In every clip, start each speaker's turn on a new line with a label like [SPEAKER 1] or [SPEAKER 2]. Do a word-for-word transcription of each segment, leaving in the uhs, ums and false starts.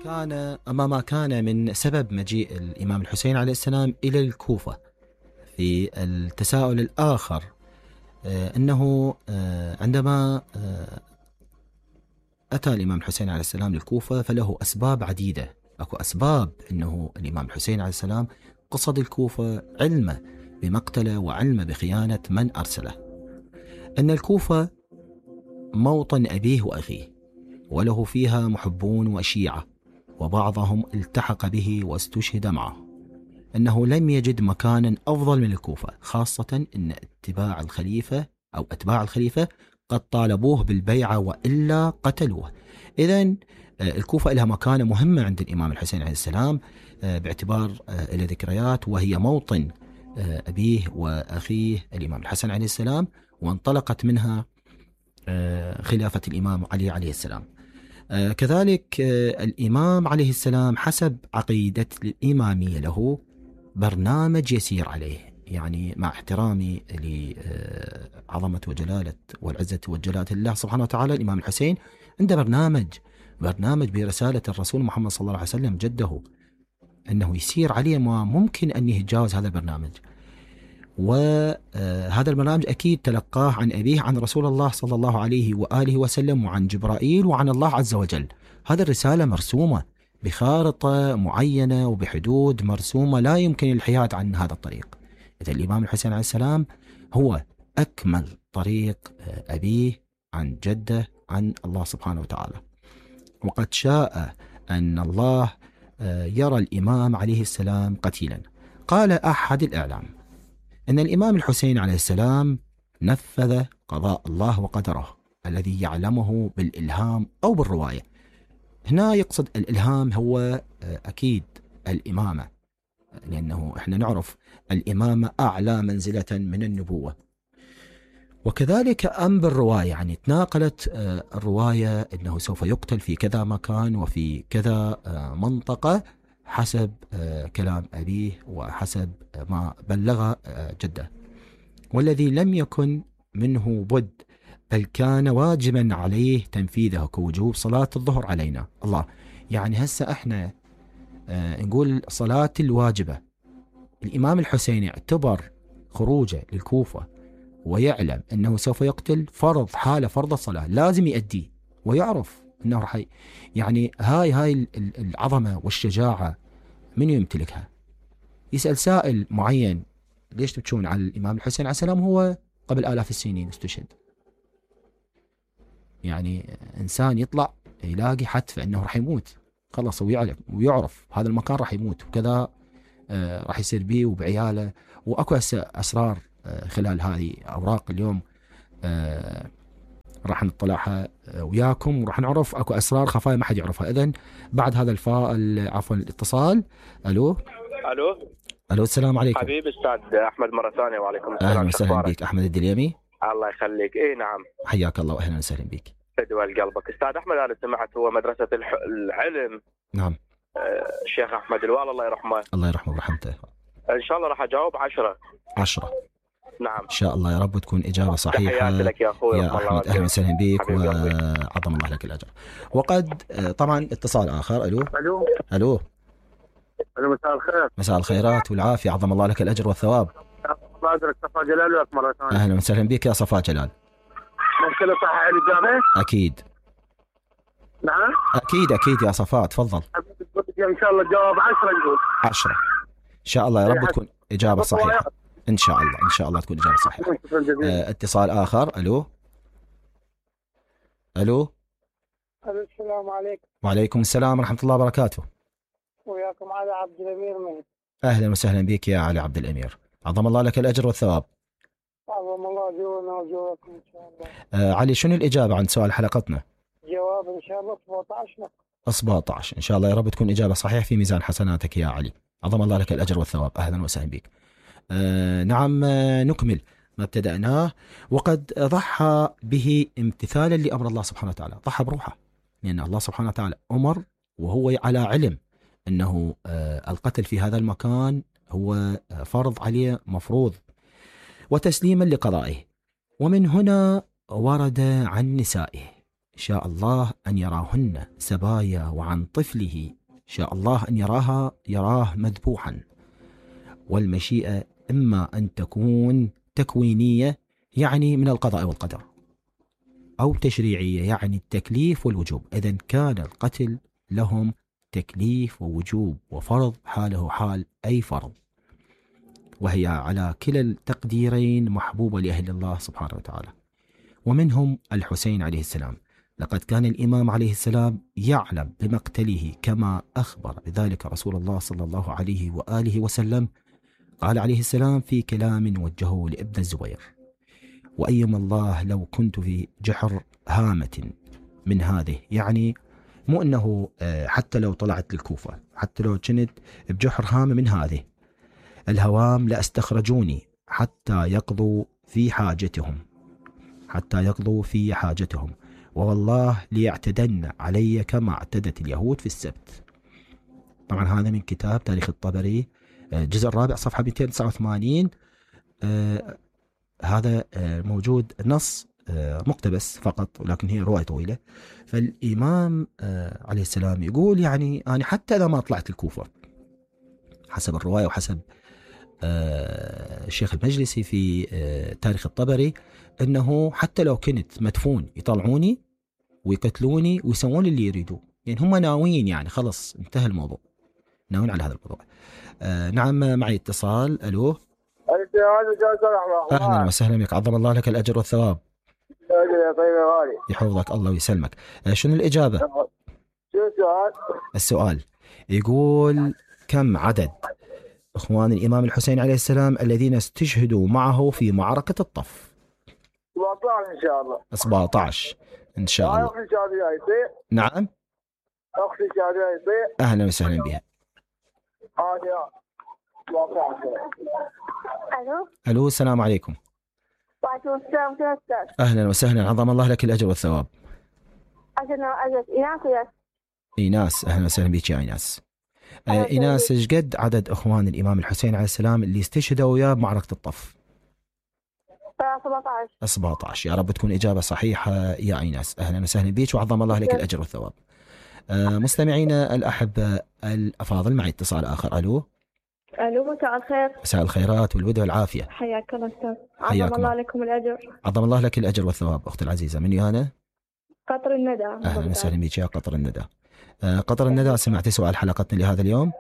[SPEAKER 1] كان أمام كان من سبب مجيء الإمام الحسين عليه السلام إلى الكوفة في التساؤل الآخر أنه عندما أتى الإمام الحسين عليه السلام للكوفة فله أسباب عديدة. أكو أسباب أنه الإمام الحسين عليه السلام قصد الكوفة علمه بمقتله وعلمه بخيانة من أرسله. أن الكوفة موطن أبيه وأخيه، وله فيها محبون وشيعة، وبعضهم التحق به واستشهد معه. أنه لم يجد مكانا أفضل من الكوفة، خاصة أن اتباع الخليفة أو أتباع الخليفة قد طالبوه بالبيعة وإلا قتلوه. إذن الكوفة لها مكانة مهمة عند الإمام الحسين عليه السلام باعتبار إلى ذكريات، وهي موطن أبيه وأخيه الإمام الحسن عليه السلام، وانطلقت منها خلافة الإمام علي عليه السلام. كذلك الإمام عليه السلام حسب عقيدة الإمامية له برنامج يسير عليه، يعني مع احترامي لعظمة وجلالة والعزة وجلالة الله سبحانه وتعالى، الإمام الحسين عنده برنامج برنامج برسالة الرسول محمد صلى الله عليه وسلم جده، أنه يسير عليه ما ممكن أن يتجاوز هذا البرنامج. وهذا البرنامج أكيد تلقاه عن أبيه عن رسول الله صلى الله عليه وآله وسلم، وعن جبرائيل وعن الله عز وجل. هذه الرسالة مرسومة بخارطة معينة وبحدود مرسومة، لا يمكن الحياد عن هذا الطريق. إذا الإمام الحسين عليه السلام هو أكمل طريق أبيه عن جده عن الله سبحانه وتعالى. وقد شاء أن الله يرى الإمام عليه السلام قتيلا. قال أحد الإعلام أن الإمام الحسين عليه السلام نفذ قضاء الله وقدره الذي يعلمه بالإلهام أو بالرواية. هنا يقصد الإلهام هو أكيد الإمامة، لأنه إحنا نعرف الإمامة أعلى منزلة من النبوة. وكذلك أم بالرواية، يعني تناقلت الرواية أنه سوف يقتل في كذا مكان وفي كذا منطقة حسب كلام أبيه وحسب ما بلغ جده، والذي لم يكن منه بد، بل كان واجبا عليه تنفيذه كوجوب صلاة الظهر علينا. الله، يعني هسه احنا نقول صلاة الواجبة. الإمام الحسين اعتبر خروجه للكوفة ويعلم أنه سوف يقتل فرض، حالة فرض الصلاة لازم يؤديه، ويعرف أنه رح يعني هاي هاي العظمة والشجاعة من يمتلكها؟ يسأل سائل معين ليش تبكون على الإمام الحسين عليه السلام؟ هو قبل آلاف السنين استشهد. يعني إنسان يطلع يلاقي حتف أنه رح يموت، خلص ويعلم ويعرف هذا المكان رح يموت وكذا، آه رح يصير بيه وبعياله. وأكو أسرار آه خلال هذه أوراق اليوم آه راح نطلعها وياكم، وراح نعرف اكو اسرار خفايا ما حد يعرفها. اذن بعد هذا الفا عفوا الاتصال. الو
[SPEAKER 2] الو
[SPEAKER 1] الو السلام عليكم
[SPEAKER 2] حبيبي استاذ احمد مره ثانيه. وعليكم السلام.
[SPEAKER 1] اهلا وسهلا بك احمد الدليمي.
[SPEAKER 2] الله يخليك. اي نعم
[SPEAKER 1] حياك الله واهلا وسهلا بك.
[SPEAKER 2] فدوى قلبك استاذ احمد. انا سمعت هو مدرسه الح... العلم.
[SPEAKER 1] نعم
[SPEAKER 2] آه الشيخ احمد الوالي الله يرحمه.
[SPEAKER 1] الله يرحمه ورحمته.
[SPEAKER 2] ان شاء الله راح اجاوب عشرة
[SPEAKER 1] عشرة
[SPEAKER 2] نعم
[SPEAKER 1] ان شاء الله، يا رب تكون اجابه صحيحه.
[SPEAKER 2] تحياتي لك يا اخوي
[SPEAKER 1] يا احمد اهلا وسهلا بك وعظم الله لك الاجر. وقد طبعا اتصال اخر. الو
[SPEAKER 2] الو
[SPEAKER 1] الو
[SPEAKER 2] الو مساء الخير.
[SPEAKER 1] مساء الخيرات والعافيه، عظم الله لك الاجر والثواب.
[SPEAKER 2] الله يجزاك صفاء جلال وياك مره ثانيه.
[SPEAKER 1] اهلا وسهلا بك يا صفاء جلال.
[SPEAKER 2] ممكن اصحح الاجابه؟
[SPEAKER 1] اكيد
[SPEAKER 2] نعم
[SPEAKER 1] اكيد اكيد يا صفاء تفضل.
[SPEAKER 2] ان شاء الله الجواب عشرة نقول.
[SPEAKER 1] عشرة ان شاء الله، يا رب تكون اجابه صحيحه ان شاء الله. ان شاء الله تكون اجابه صحيحه. اه اتصال اخر. الو الو
[SPEAKER 3] السلام عليكم.
[SPEAKER 1] وعليكم السلام ورحمه الله وبركاته.
[SPEAKER 3] وياكم علي عبد الامير مهد.
[SPEAKER 1] اهلا وسهلا بك يا علي عبد الامير، عظم الله لك الاجر والثواب.
[SPEAKER 3] عظم الله جونا وجوكم ان شاء الله.
[SPEAKER 1] آه علي، شنو الاجابه عن سؤال حلقتنا؟
[SPEAKER 3] جواب ان شاء الله سبعة عشر نقطة.
[SPEAKER 1] سبعة عشر ان شاء الله، يا رب تكون اجابه صحيحه في ميزان حسناتك يا علي، عظم الله لك الاجر والثواب. اهلا وسهلا بك. آه نعم آه نكمل ما ابتدأناه. وقد ضحى به امتثالا لأمر الله سبحانه وتعالى، ضحى بروحه، لأن الله سبحانه وتعالى أمر وهو على علم أنه آه القتل في هذا المكان هو آه فرض عليه مفروض، وتسليما لقضائه. ومن هنا ورد عن نسائه شاء الله أن يراهن سبايا، وعن طفله شاء الله أن يراها يراه مذبوحا. والمشيئة إما أن تكون تكوينية يعني من القضاء والقدر، أو تشريعية يعني التكليف والوجوب. إذن كان القتل لهم تكليف ووجوب وفرض حاله حال أي فرض، وهي على كلا التقديرين محبوبة لأهل الله سبحانه وتعالى. ومنهم الحسين عليه السلام. لقد كان الإمام عليه السلام يعلم بمقتله كما أخبر بذلك رسول الله صلى الله عليه وآله وسلم. قال عليه السلام في كلام وجهه لابن الزبير: وأيما الله لو كنت في جحر هامة من هذه، يعني مو أنه حتى لو طلعت للكوفة، حتى لو كنت بجحر هامة من هذه الهوام لأستخرجوني حتى يقضوا في حاجتهم حتى يقضوا في حاجتهم ووالله ليعتدن علي كما اعتدت اليهود في السبت. طبعا هذا من كتاب تاريخ الطبري الجزء الرابع صفحة مئتين وتسعة وثمانين. آه هذا آه موجود نص آه مقتبس فقط، ولكن هي رواية طويلة. فالإمام آه عليه السلام يقول يعني أنا حتى إذا ما طلعت الكوفة حسب الرواية وحسب آه الشيخ المجلسي في آه تاريخ الطبري، أنه حتى لو كنت مدفون يطلعوني ويقتلوني ويسوون اللي يريدوه، يعني هم ناويين، يعني خلص انتهى الموضوع، ناويين على هذا الموضوع. آه نعم معي اتصال. ألو. أهلا وسهلا بك، عظم الله لك الأجر والثواب. يحفظك الله ويسلمك. آه شنو الإجابة؟
[SPEAKER 3] شو السؤال؟
[SPEAKER 1] السؤال يقول: كم عدد إخوان الإمام الحسين عليه السلام الذين استشهدوا معه في معركة الطف؟
[SPEAKER 3] سبعة عشر إن شاء الله.
[SPEAKER 1] سبعة عشر إن شاء الله.
[SPEAKER 3] أختي شادية يصير؟
[SPEAKER 1] نعم
[SPEAKER 3] أختي شادية يصير؟
[SPEAKER 1] أهلا وسهلا بها.
[SPEAKER 3] هذه سبعة عشر.
[SPEAKER 4] ألو.
[SPEAKER 1] ألو السلام عليكم.
[SPEAKER 4] وعليكم السلام ورحمة الله.
[SPEAKER 1] أهلا وسهلا، عظم الله لك الأجر والثواب.
[SPEAKER 4] أجل أجل إيناس وياس.
[SPEAKER 1] إيناس أهلا وسهلا بك يا إيناس. آه إيناس، ايش قد عدد إخوان الإمام الحسين عليه السلام اللي استشهدوا وياه بمعركة الطف؟
[SPEAKER 4] سبعة عشر.
[SPEAKER 1] سبعة عشر. يا رب تكون إجابة صحيحة يا إيناس. أهلا وسهلا بك وعظم الله لك الأجر والثواب. آه مستمعينا الأحبة الأفاضل، معي اتصال آخر. ألو.
[SPEAKER 4] ألو مساء الخير.
[SPEAKER 1] مساء الخيرات والود والعافية.
[SPEAKER 4] حياك الله أستاذ.
[SPEAKER 1] حياكم
[SPEAKER 4] عظم الله لكم الأجر.
[SPEAKER 1] عظم الله لك الأجر والثواب أختي العزيزة. من أنا؟
[SPEAKER 4] قطر الندى.
[SPEAKER 1] أهلا وسهلا بك يا قطر الندى. آه قطر الندى، سمعتي سؤال حلقتنا لهذا اليوم؟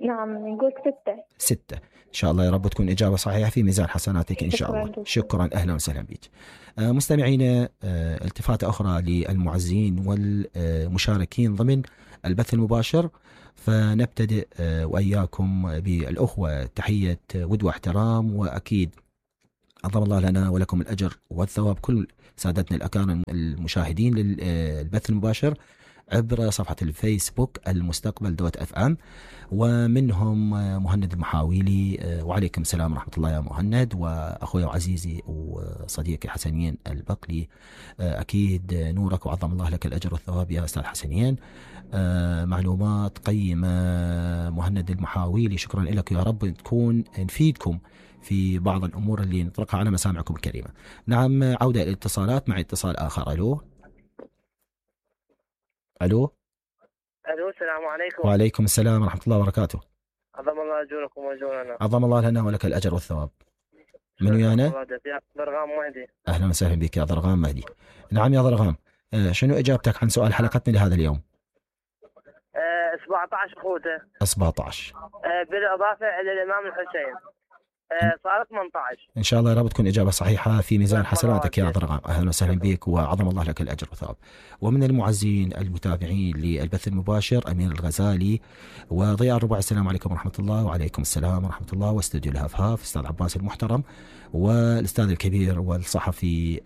[SPEAKER 4] نعم نقول ستة.
[SPEAKER 1] ستة إن شاء الله، يا رب تكون إجابة صحيحة في ميزان حسناتك إن شاء
[SPEAKER 4] شكرا
[SPEAKER 1] الله.
[SPEAKER 4] جدا.
[SPEAKER 1] شكرا أهلا وسهلا بك. آه مستمعينا، آه التفاتة أخرى للمعزين والمشاركين ضمن البث المباشر، فنبتدئ آه وإياكم بالأخوة تحية ود واحترام، وأكيد عظم الله لنا ولكم الأجر والثواب كل سادتنا الأكارم المشاهدين للبث المباشر عبر صفحة الفيسبوك المستقبل دوت اف ام، ومنهم مهند المحاويلي. وعليكم السلام ورحمة الله يا مهند، وأخوي وعزيزي وصديقي حسنين البقلي، أكيد نورك وعظم الله لك الأجر والثواب يا أستاذ حسنين. معلومات قيمة مهند المحاويلي، شكرا لك، يا رب تكون نفيدكم في بعض الأمور اللي نطرقها على مسامعكم الكريمة. نعم عودة الاتصالات، مع اتصال آخر. ألو. ألو.
[SPEAKER 2] الو السلام عليكم.
[SPEAKER 1] وعليكم السلام ورحمة الله وبركاته.
[SPEAKER 2] عظم الله اجوركم واجورنا.
[SPEAKER 1] عظم الله لنا ولك الأجر والثواب. من ويانا؟
[SPEAKER 2] ضرغام مهدي.
[SPEAKER 1] أهلا وسهلا بك يا ضرغام مهدي. نعم يا ضرغام، آه شنو إجابتك عن سؤال حلقتنا لهذا اليوم؟
[SPEAKER 2] آه سبعة عشر أخوته.
[SPEAKER 1] سبعة عشر.
[SPEAKER 2] آه بالإضافة إلى الإمام الحسين آه صارت ثمانية عشر.
[SPEAKER 1] إن شاء الله يا رب تكون إجابة صحيحة في ميزان حسناتك يا ضرغام. أهلا وسهلا بك وعظم الله لك الأجر والثواب. ومن المعزين المتابعين للبث المباشر أمير الغزالي وضياء الربع، السلام عليكم ورحمة الله. وعليكم السلام ورحمة الله. واستوديو الهفهاف أستاذ عباس المحترم، والأستاذ الكبير والصحفي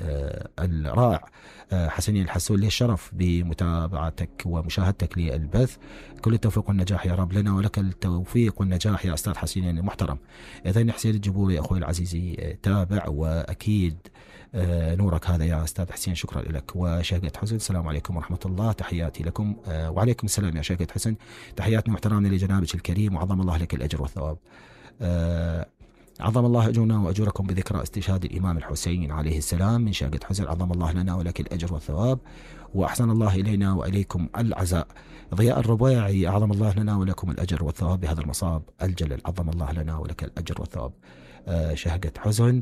[SPEAKER 1] الرائع حسنين الحسون، لي الشرف بمتابعتك ومشاهدتك للبث. كل التوفيق والنجاح يا رب لنا ولك التوفيق والنجاح يا أستاذ حسنين المحترم. إذن حسين الجبوري أخوي العزيزي تابع، وأكيد نورك هذا يا أستاذ حسين، شكرا لك. وشهقة حسن، السلام عليكم ورحمة الله، تحياتي لكم. وعليكم السلام يا شهقة حسن، تحياتنا واحترامنا لجنابك الكريم وعظم الله لك الأجر والثواب. عظم الله أجورنا وأجوركم بذكرى استشهاد الإمام الحسين عليه السلام من شاقة حزن. عظم الله لنا ولك الأجر والثواب، وأحسن الله إلينا وإليكم العزاء. ضياء الربيعي، أعظم الله لنا ولكم الأجر والثواب بهذا المصاب الجلل. عظم الله لنا ولك الأجر والثواب. آه شهقة حزن.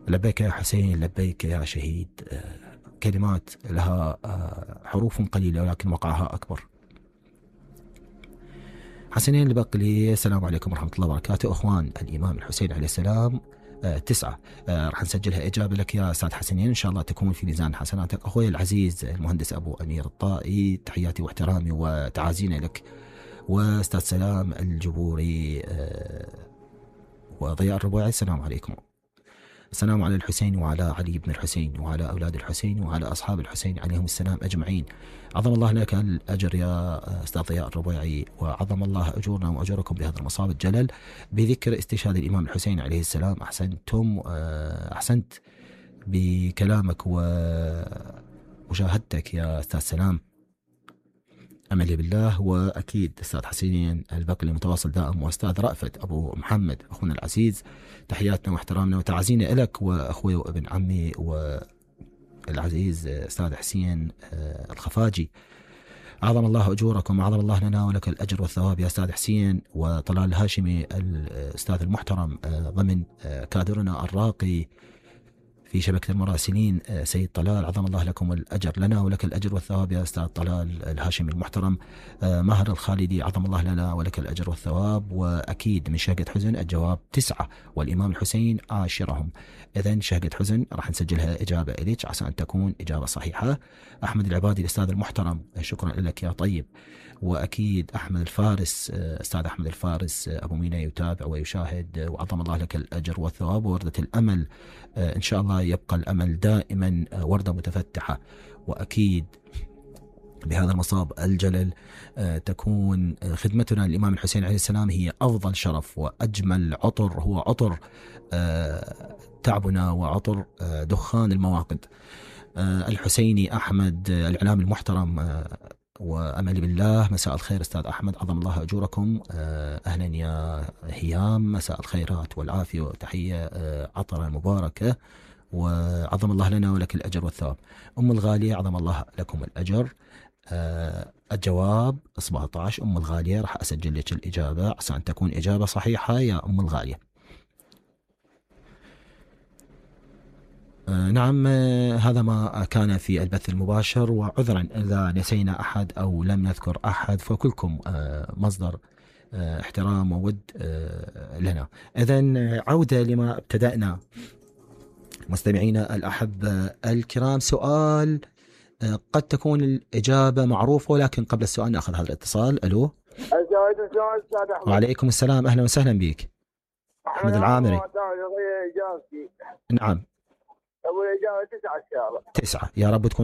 [SPEAKER 1] لبيك يا حسين، لبيك يا شهيد. آه كلمات لها آه حروف قليلة ولكن وقعها أكبر. حسنين البقلي، السلام عليكم ورحمة الله وبركاته. أخوان الإمام الحسين عليه السلام آه تسعة. آه راح نسجلها إجابة لك يا أستاذ حسنين، إن شاء الله تكون في ميزان حسناتك. أخوي العزيز المهندس أبو أمير الطائي، تحياتي واحترامي وتعازينا لك. وأستاذ سلام الجبوري آه وضياء الربيعي، السلام عليكم. السلام على الحسين وعلى علي بن الحسين وعلى أولاد الحسين وعلى أصحاب الحسين عليهم السلام أجمعين. عظم الله لك الأجر يا أستاذ ضياء الربيعي، وعظم الله أجورنا وأجوركم بهذا المصاب الجلل بذكر استشهاد الإمام الحسين عليه السلام. أحسنتم، أحسنت بكلامك ومشاهدتك يا أستاذ سلام، أملي بالله. وأكيد أستاذ حسين البقلي متواصل دائم، وأستاذ رأفت أبو محمد أخونا العزيز، تحياتنا واحترامنا وتعازينا لك وأخوي وابن عمي والعزيز أستاذ حسين الخفاجي. أعظم الله أجوركم، أعظم الله لنا ولك الأجر والثواب يا أستاذ حسين. وطلال الهاشمي الأستاذ المحترم ضمن كادرنا الراقي في شبكة المراسلين سيد طلال، عظم الله لكم الأجر، لنا ولك الأجر والثواب يا أستاذ طلال الهاشمي المحترم. ماهر الخالدي، عظم الله لنا ولك الأجر والثواب. وأكيد من شهقة حزن الجواب تسعة والإمام الحسين عاشرهم. إذن شهقة حزن راح نسجلها إجابة إليك عسى أن تكون إجابة صحيحة. أحمد العبادي الأستاذ المحترم، شكرا لك يا طيب. وأكيد أحمد الفارس، أستاذ أحمد الفارس أبو مينا يتابع ويشاهد، وعظم الله لك الأجر والثواب. ووردة الأمل إن شاء الله يبقى الأمل دائما وردة متفتحة، وأكيد بهذا المصاب الجلل تكون خدمتنا للإمام الحسين عليه السلام هي أفضل شرف وأجمل عطر، هو عطر تعبنا وعطر دخان المواقد. الحسيني أحمد الإعلام المحترم، وأملي بالله، مساء الخير أستاذ أحمد، عظم الله أجوركم. أهلا يا هيام، مساء الخيرات والعافية وتحية عطرة مباركة، وعظم الله لنا ولك الأجر والثواب. أم الغالية، عظم الله لكم الأجر. الجواب سبعة عشر. أم الغالية راح أسجل لك الإجابة عشان تكون إجابة صحيحة يا أم الغالية. نعم، هذا ما كان في البث المباشر، وعذرا إذا نسينا أحد أو لم نذكر أحد، فكلكم مصدر احترام وود لنا. إذن عودة لما ابتدأنا مستمعينا الأحبة الكرام. سؤال قد تكون الإجابة معروفة، ولكن قبل السؤال نأخذ هذا الاتصال. ألو. وعليكم السلام، أهلا وسهلا بك. أحمد العامري. نعم.
[SPEAKER 3] أول إجابة تسعة إن شاء الله.
[SPEAKER 1] تسعة، يا رب تكون